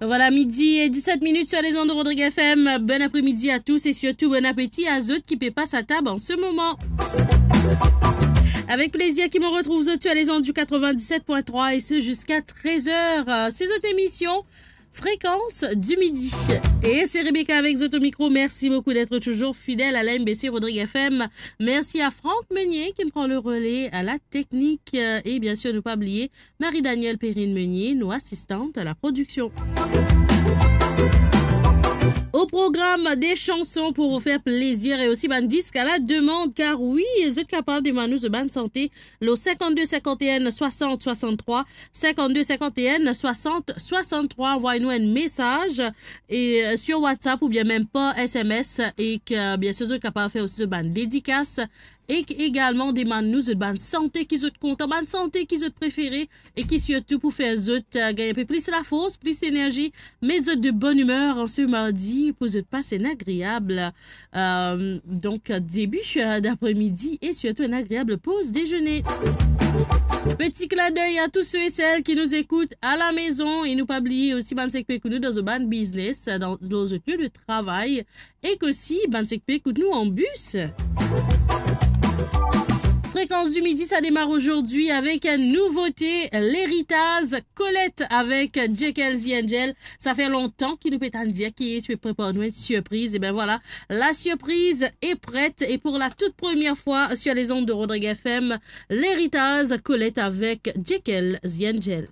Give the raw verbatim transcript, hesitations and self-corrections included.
Voilà, midi et dix-sept minutes sur les ondes de Rodrigue F M. Bon après-midi à tous et surtout bon appétit à zot ki pe pas à table en ce moment. Avec plaisir ki mo retrouv zot sur les ondes du quatre-vingt-dix-sept point trois et ce jusqu'à treize heures. Euh, c'est votre émission Fréquence du Midi. Et c'est Rebecca avec zot au micro. Merci beaucoup d'être toujours fidèle à la M B C Rodrigue F M. Merci à Franck Meunier qui prend le relais à la technique. Euh, et bien sûr, ne pas oublier Marie-Danielle Perrine-Meunier, nos assistantes à la production. Au programme, des chansons pour vous faire plaisir et aussi bann disk à la demande, car oui, zot kapav demann nou zot bann sante, lo cinquante-deux cinquante et un soixante soixante-trois, cinquante-deux cinquante et un soixante soixante-trois, envoy nou enn mesaz e, euh, sur WhatsApp oubien mem par S M S e ke, bien sûr, zot kapav fer osi zot bann dedikas e ki egalman demann nou zot bann sante ki zot kontan, bann sante ki zot prefere e ki sirtou pou fer zot, euh, gagn inpe plis lafors, plis enerzi, met zot de bonne humeur en ce mardi pou zot pas enn agreab, euh, donk, début, euh, d'après-midi et surtout un agréable pause déjeuner. Petit clin d'œil à tous ceux et celles qui nous écoutent à la maison e nou pa bliye osi bann sek pe ekout nou dan zot bann biznes, dan, dan zot lie de travay, ek osi bann sek pe ekout nou an bis. Fréquence du Midi, ça démarre aujourd'hui avec une nouveauté, L'Héritage, Colette avec Jekyll the Angel. Ça fait longtemps ki nou pe tann dir ki ti pe prepar nou enn surpriz. E ben voilà, la surprise est prête et pour la toute première fois sur les ondes de Rodrigue F M, L'Héritage, Colette avec Jekyll the Angel.